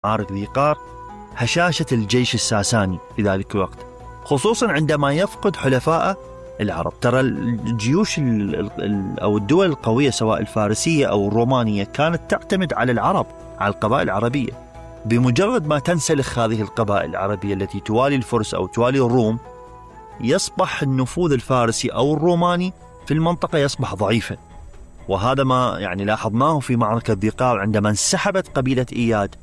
معارك ذي قار هشاشة الجيش الساساني في ذلك الوقت، خصوصا عندما يفقد حلفاء العرب. ترى الجيوش أو الدول القوية سواء الفارسية أو الرومانية كانت تعتمد على العرب، على القبائل العربية. بمجرد ما تنسلخ هذه القبائل العربية التي توالي الفرس أو توالي الروم، يصبح النفوذ الفارسي أو الروماني في المنطقة يصبح ضعيفا. وهذا ما يعني لاحظناه في معركة ذي قار عندما انسحبت قبيلة إياد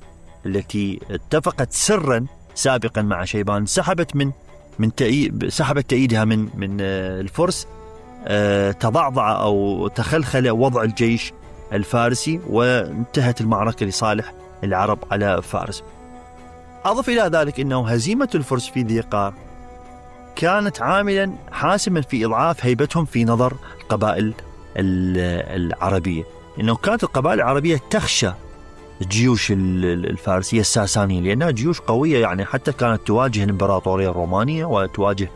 التي اتفقت سرا سابقا مع شيبان، سحبت سحبت تأييدها من الفرس. تضعضع أو تخلخل وضع الجيش الفارسي، وانتهت المعركة لصالح العرب على فارس. أضف إلى ذلك أنه هزيمة الفرس في ذي قار كانت عاملا حاسما في إضعاف هيبتهم في نظر القبائل العربية، إنه كانت القبائل العربية تخشى الجيوش الفارسية الساسانية لأنها جيوش قوية، يعني حتى كانت تواجه الإمبراطورية الرومانية وتواجه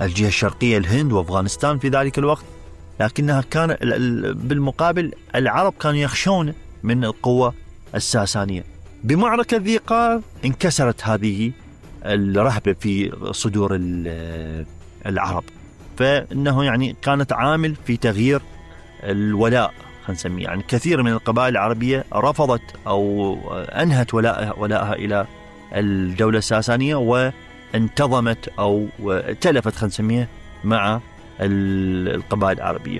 الجهة الشرقية الهند وأفغانستان في ذلك الوقت، لكنها كان بالمقابل العرب كانوا يخشون من القوة الساسانية. بمعركة ذي قار انكسرت هذه الرهبة في صدور العرب، فإنه يعني كانت عامل في تغيير الولاء، خلينا نسميه. يعني كثير من القبائل العربية رفضت أو أنهت ولاءها إلى الدولة الساسانية وانتظمت أو تلفت، خلينا نسميه، مع القبائل العربية،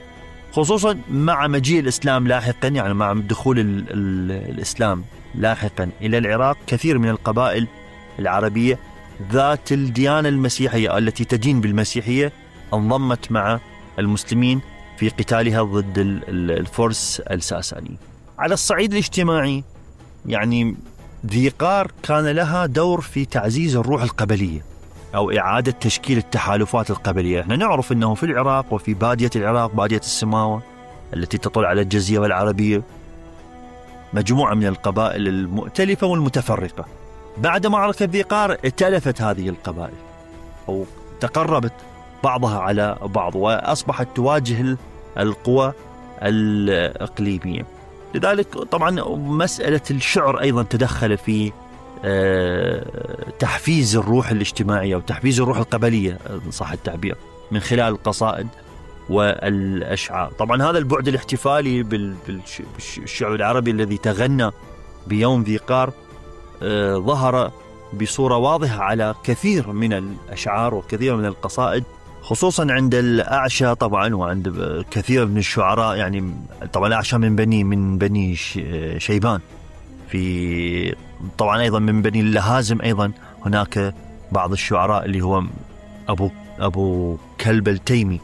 خصوصا مع مجيء الإسلام لاحقا. يعني مع دخول الإسلام لاحقا إلى العراق، كثير من القبائل العربية ذات الديانة المسيحية التي تدين بالمسيحية انضمت مع المسلمين في قتالها ضد الفرس الساساني. على الصعيد الاجتماعي، يعني ذي قار كان لها دور في تعزيز الروح القبلية أو إعادة تشكيل التحالفات القبلية. احنا نعرف أنه في العراق وفي بادية العراق، بادية السماوة التي تطل على الجزيرة العربية، مجموعة من القبائل المؤتلفة والمتفرقة. بعد معركة ذي قار ائتلفت هذه القبائل أو تقربت بعضها على بعض، وأصبحت تواجه القوى الإقليمية. لذلك طبعا مسألة الشعر أيضا تدخل في تحفيز الروح الاجتماعية وتحفيز الروح القبلية صح التعبير، من خلال القصائد والأشعار. طبعا هذا البعد الاحتفالي بالشعر العربي الذي تغنى بيوم ذي قار ظهر بصورة واضحة على كثير من الأشعار وكثير من القصائد، خصوصا عند الأعشى طبعا وعند كثير من الشعراء. يعني طبعا الأعشى من بني شيبان، في طبعا أيضا من بني اللهازم. أيضا هناك بعض الشعراء اللي هو أبو كلب التيمي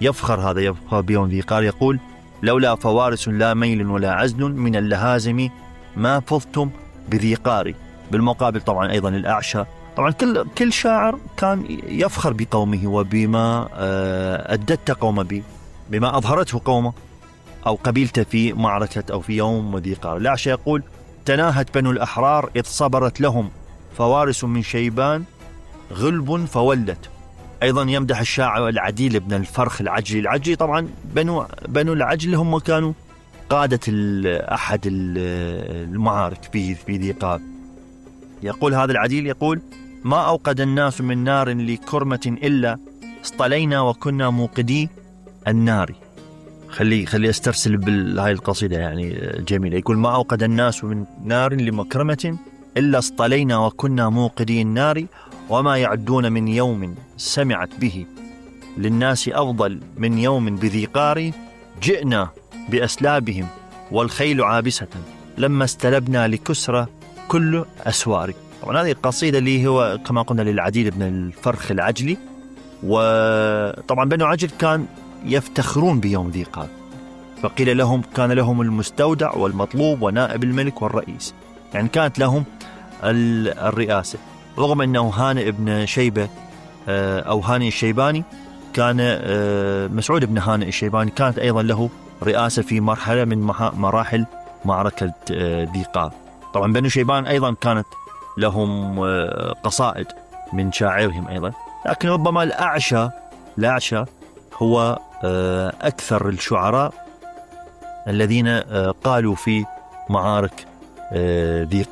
يفخر بيوم ذي قار، يقول: لولا فوارس لا ميل ولا عزل من اللهازم ما فضتم بذي قار. بالمقابل طبعا أيضا الأعشى، طبعا كل شاعر كان يفخر بقومه وبما أدت قومه به، بما أظهرته قومه أو قبيلته في معركة أو في يوم ذي قار. الأعشى يقول: تناهت بنو الأحرار إذ صبرت لهم فوارس من شيبان غلب فولت. أيضا يمدح الشاعر العديل بن الفرخ العجلي. طبعا بنو العجل هم كانوا قادة أحد المعارك في ذي قار. يقول هذا العديل، يقول: ما أوقد الناس من نار لكرمة إلا اصطلينا وكنا موقدي النار. خلي استرسل بهاي القصيدة يعني جميلة. يقول: ما أوقد الناس من نار لمكرمة إلا اصطلينا وكنا موقدي النار، وما يعدون من يوم سمعت به للناس أفضل من يوم بذي قار، جئنا بأسلابهم والخيل عابسة لما استلبنا لكسرى كل أسوار. طبعا هذه القصيدة اللي هو كما قلنا للعديل بن الفرخ العجلي. وطبعا بنو عجل كان يفتخرون بيوم ذي قار، فقيل لهم كان لهم المستودع والمطلوب ونائب الملك والرئيس، يعني كانت لهم الرئاسة. رغم أنه هانئ بن شيبة أو هانئ الشيباني كان مسعود بن هانئ الشيباني كانت أيضا له رئاسة في مرحلة من مراحل معركة ذي قار. طبعا بنو شيبان أيضا كانت لهم قصائد من شاعرهم أيضا، لكن ربما الأعشى هو أكثر الشعراء الذين قالوا في معارك ذي قار.